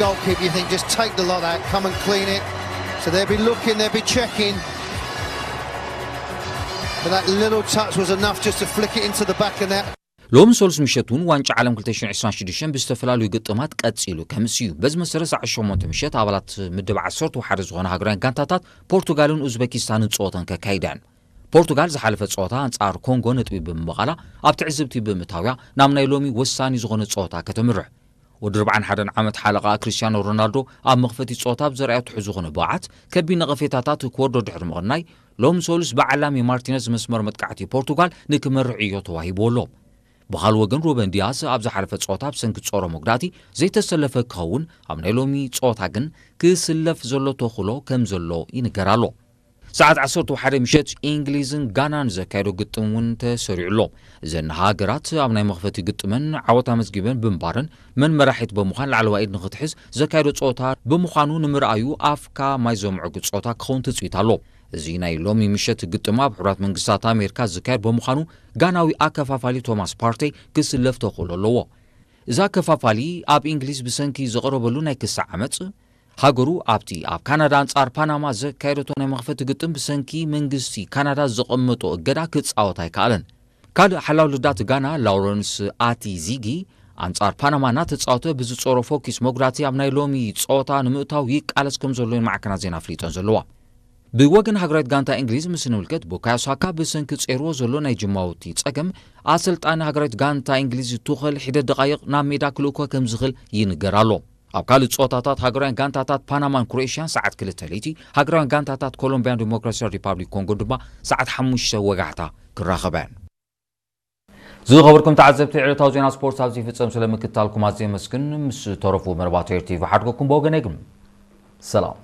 Goalkeeper, you think, just take the lot out, come and clean it. So they'll be looking, they'll be checking. But that little touch was enough just to flick it into the back of net. ሎም ሶሉስ ምሸት እውን ዋንጫ ዓለም ክልተ ሽሕን ዕስራን ሽዱሽተን ብዝተፈላለዩ ግጥማት ቀጺሉ ከምስ እዩ። በዚ መሰረት ሰዓት ሸሞንተ ምሸት ኣባላት ምድብ ዓሰርተ ሓደ ዝኾነ ሃገራውያን ጋንታታት ፖርቱጋልን ኡዝበኪስታንን ጸወተን ከካይደን። ፖርቱጋል ዝሓለፈ ጸወታ ኣንጻር ኮንጎ ነጥቢ ብምባቓላ ኣብ ትዕዝብቲ ብምእታውያ ናብ ናይ ሎሚ ወሳኒ ዝኾነ ጸወታ ከተምርሕ። ወዲ ኣርባዓን ሓደን ዓመት ሓለቓ ክርስቲያኖ ሮናልዶ ኣብ መኽፈቲ ጸወታ ብዘርኣዮ ትሑት ዝኾነ ብቕዓት ከቢድ ነቐፌታታት ክወርዶ ድሕሪ ምቕናይ፣ ሎም ሶሉስ ብዓላሚ ማርቲነዝ መስመር መጥቃዕቲ ፖርቱጋል ንክመርሕ ዕዮ ተዋሂብዎ ኣሎ። ብኻልእ ወገን ሩበን ዲያስ ኣብ ዝሓለፈ ጸወታ ብሰንኪ ጸሮ መጉዳእቲ ዘይተሰለፈ ክኸውን፣ ኣብ ናይ ሎሚ ጸወታ ግን ክስለፍ ዘሎ ተኽእሎ ከም ዘሎ ይንገር ኣሎ። ሰዓት ዓሰርተ ሓደ ምሸት እንግሊዝን ጋናን ዘካየዶ ግጥም እውን ተሰሪዑ ኣሎ። እዘን ሃገራት ኣብ ናይ መኽፈቲ ግጥመን ዓወት ኣመዝጊበን ብምንባረን መን መራሒት ብምዃን ላዕለዋይ ኢድ ንኽትሕዝ ዘካየዶ ጸወታ ብምዃኑ ንምርኣዩ ኣፍካ ማይ ዘምዕጉ ጸወታ ክኸውን ትጽቢት ኣሎ። እዚ ናይ ሎሚ ምሸት ግጥም ኣብ ሕቡራት መንግስታት ኣሜሪካ ዝካየድ ብምዃኑ ጋናዊ ኣከፋፋሊ ቶማስ ፓርቴይ ክስለፍ ተኽእሎ ኣለዎ። እዚ ኣከፋፋሊ ኣብ እንግሊዝ ብሰንኪ ዘቕረበሉ ናይ ክሲ ዓመጽ ሃገሩ ኣብቲ ኣብ ካናዳ ኣንጻር ፓናማ ዘካየደቶ ናይ መኽፈቲ ግጥም ብሰንኪ መንግስቲ ካናዳ ዘቐመጦ እገዳ ክጻወት ኣይከኣለን። ካልእ ሓላው ልዳት ጋና ላውረንስ ኣቲ ዚጊ ኣንጻር ፓናማ እናተጻወተ ብዝጸሮ ፎኪስ መጉዳእቲ ኣብ ናይ ሎሚ ጸወታ ንምእታው ይቃለስ ከም ዘሎ እየን ማዕከናት ዜና ኣፍሊጠን ዘለዋ። ብወገን ሃገራዊት ጋንታ እንግሊዝ ምስ ንምልከት ቡካዮ ሳካ ብሰንኪ ጸይርዎ ዘሎ ናይ ጅማውቲ ጸገም ኣሰልጣኒ ሃገራዊት ጋንታ እንግሊዝ ቱኸል ሒደት ደቃይቕ ናብ ሜዳ ክልእኮ ከም ዝኽእል ይንገር ኣሎ። ኣብ ካልእ ጸወታታት ሃገራውያን ጋንታታት ፓናማን ክሮኤሽያን ሰዓት ክልተ ለይቲ፣ ሃገራውያን ጋንታታት ኮሎምቢያን ዲሞክራሲያን ሪፓብሊክ ኮንጎን ድማ ሰዓት ሓሙሽተ ወጋሕታ ክራኸባ እየን። ዝኸበርኩም ተዓዘብቲ፣ ዕለታዊ ዜና ስፖርት ኣብዚ ይፍጸም። ስለ ምክትታልኩም ኣዝየ የመስግን። ምስ ተረፉ መርባት ኤር ቲቪ ሓድገኩም ብወገነይ ግን ሰላም።